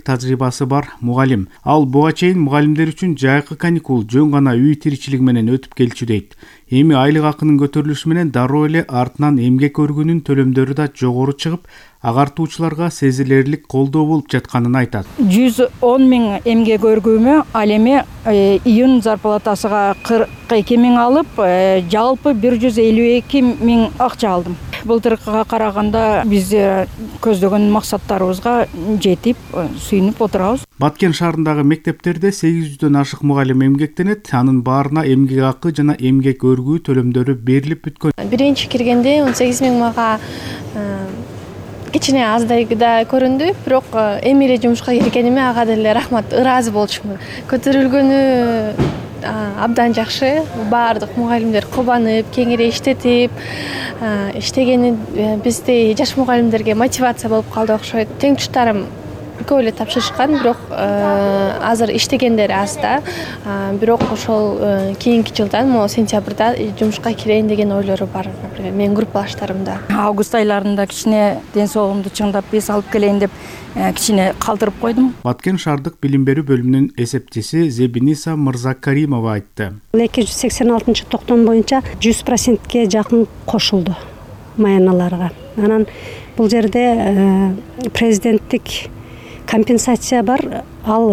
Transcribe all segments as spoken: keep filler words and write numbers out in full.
тажрыйбасы бар мугалим. Ал буга чейин мугалимдер үчүн жайкы каникул жөн гана үй тиричилиги менен өтүп келчү дейт. Эми айлык акынын көтөрүлүшү менен дароо эле артынан эмгек өргүнүн төлөмдөрү да жогору чыгып, агартуучуларга сезилерлик колдоо болуп жатканын айтат. жүз он миң эмгек өргүүмө ал эми июнь зарплатасыга кырк эки миң алып, жалпы бир жүз элүү эки миң акча алдым. Былтыркыга караганда биз көздөгөн максаттарыбызга жетип, сүйүнүп отурабыз. Баткен шаарындагы мектептерде сегиз жүздөн ашык мугалим эмгектенет, анын баарына эмгек акы жана эмгек өргүү төлөмдөрү берилип бүткөн. Биринчи киргенде он сегиз миң мага кичине аздай да көрүндү, бирок эми эле жумушка киргениме ага деле рахмат, ыраазы болчумун. Көтөрүлгөнү абдан жакшы. Баардык мугалимдер кубанып, кеңири иштетип, иштегени бизде жаш мугалимдерге мотивация болуп калды окшойт. Теңтуштарым көп эле тапшырышкан, бирок азыр иштегендер аз да. Бирок ошол кийинки жылдан, могу сентябрда жумушка кирейин деген ойлору бар менин группалаштарымда. Август айларында кичине ден соолугумду чыңдап биз алып келейин деп кичине калтырып койдум. Баткен шаардык билим берүү бөлүмүнүн эсептчиси Зебиниса Мырзакаримова айтты. эки жүз сексен алтынчы токтом боюнча жүз процентке жакын кошулду маяналарга. Анан бул жерде президенттик компенсация бар. Ал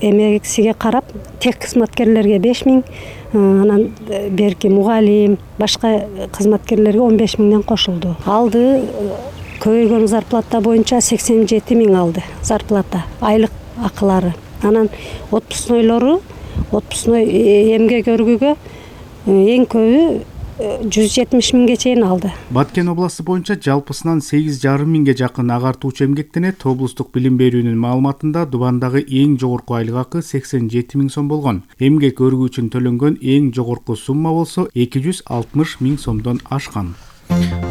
эмгексиге карап, тек кызматкерлерге беш миң, анан берки мугалим, башка кызматкерлерге он беш миңден кошулду. Алды көбөйгөн зарплата боюнча сексен жети миң алды зарплата, айлык акылары. Анан отпускнойлору, отпускной эмгек өргүүгө эң көбү жүз жетимиш миңге чейин алды. Баткен областы боюнча жалпысынан сегиз жарым миңге жакын агартуучу эмгектенет. Облустук билим берүүнүн маалыматында Дубандагы эң жогорку айлык акы сексен жети миң сом болгон. Эмгек өргүү үчүн төлөнгөн эң жогорку сумма болсо эки жүз алтымыш миң сомдон ашкан.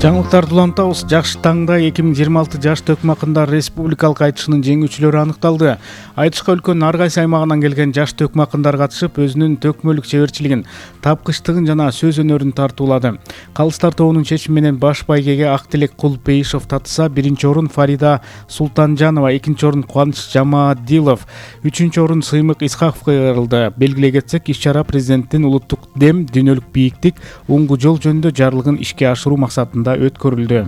Жаңылыктарды улантабыз. Жакшы таңда эки миң жыйырма алты жаш төкмакындар республикалык айтышынын жеңүүчүлөрү аныкталды. Айтышка өлкөнүн ар кайсы аймагынан келген жаш төкмакындар катышып, өзүнүн төкмөлүк чеберчилигин, тапкычтыгын жана сөз өнөрүн тартуулады. Калыстар тобунун чечими менен баш байгеге Актилек Кулпейишов татыса, биринчи орун Фарида Султанжанова, экинчи орун Кубаныч Жамадилов, үчүнчү орун Сыймык Исхаковго кайрылды. Белгилей кетсек, иш-чара президенттин улуттук дем, дүйнөлүк бийиктик, оңгу жол жөнүндө жарлыгын ишке ашыруу максатында өткөрүлдү.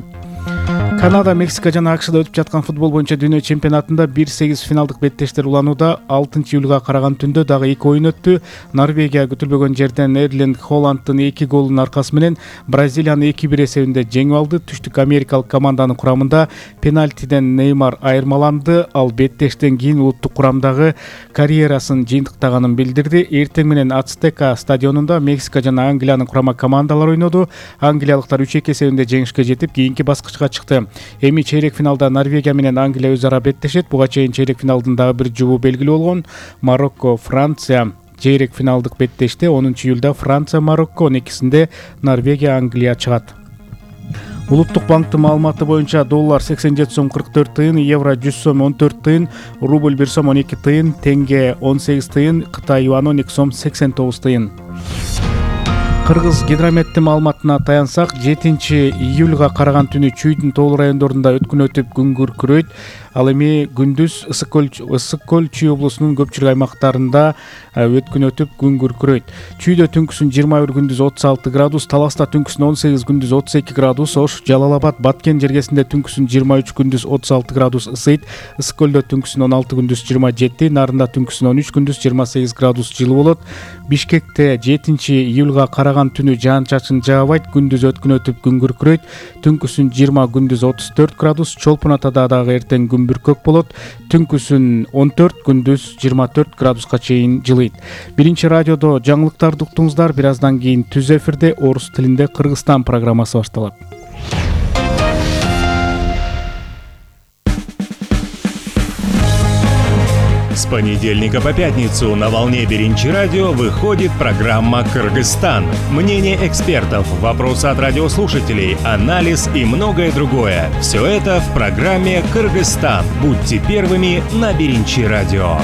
Канада, Мексика жана АКШда өтүп жаткан футбол боюнча дүйнө чемпионатында бир сегиз финалдык беттештер уланууда. алтынчы июлга караган түндө дагы эки оюн өттү. Норвегия күтүлбөгөн жерден Эрлинг Холландтын эки голунун аркасы менен Бразилияны эки бир эсебинде жеңип алды. Түштүк америкалык команданын курамында пенальтиден Неймар айырмаланды. Ал беттештен кийин улуттук курамдагы карьерасын жыйынтыктаганын билдирди. Эртең менен Ацтека стадионунда Мексика жана Англиянын курама командалары ойноду. Англиялыктар үч эки эсебинде жеңишке жетип, кийинки баскычка чыкты. Эми чейрек финалда Норвегия менен Англия өз ара беттешет. Буга чейин чейрек финалдын дагы бир жубу белгилүү болгон. Марокко, Франция чейрек финалдык беттеште. онунчу июлда Франция, Марокко, он экисинде Норвегия, Англия чыгат. Улуттук банктын маалыматы боюнча доллар сексен жети сом кырк төрт тыйын, евро жүз сом он төрт тыйын, рубль бир сом он эки тыйын, тенге он сегиз тыйын, Кытай юаны он эки сом сексен тогуз тыйын. Кыргыз гидрометтин маалыматына таянсак, жетинчи июлга караган түнү Чүйдүн тоолуу райондорунда өткүн өтүп күн күркүрөйт. Ал эми күндүз Ысык көл Ысык көл Чүй облусунун көпчүлүк аймактарында өткүн өтүп күн күркүрөйт. Чүйдө түнкүсүн жыйырма бир, күндүз отуз алты градус, Таласта түнкүсүн он сегиз, күндүз отуз эки градус, Ош, Жалал-Абад, Баткен жергесинде түнкүсүн жыйырма үч, күндүз отуз алты градус ысыйт. Ысык көлдө түнкүсүн он алты, күндүз жыйырма жети, Нарында түнкүсүн он үч, күндүз жыйырма сегиз градус жылы болот. Бишкекте жетинчи июлга караган түнү жаан-чачын жаабайт, күндүз өткүн өтүп күн күркүрөйт. Түнкүсүн жыйырма, күндүз отуз төрт градус, Чолпон Атада дагы эртең күн бүркөк болот. Түнкүсүн он төрт, күндүз жыйырма төрт градуска чейин жылыйт. Биринчи радиодо жаңылыктарды уктуңуздар. Бир аздан кийин түз эфирде орус тилинде Кыргызстан программасы башталат. С понедельника по пятницу на волне Биринчи радио выходит программа «Кыргызстан». Мнение экспертов, вопросы от радиослушателей, анализ и многое другое. Все это в программе «Кыргызстан». Будьте первыми на Биринчи радио.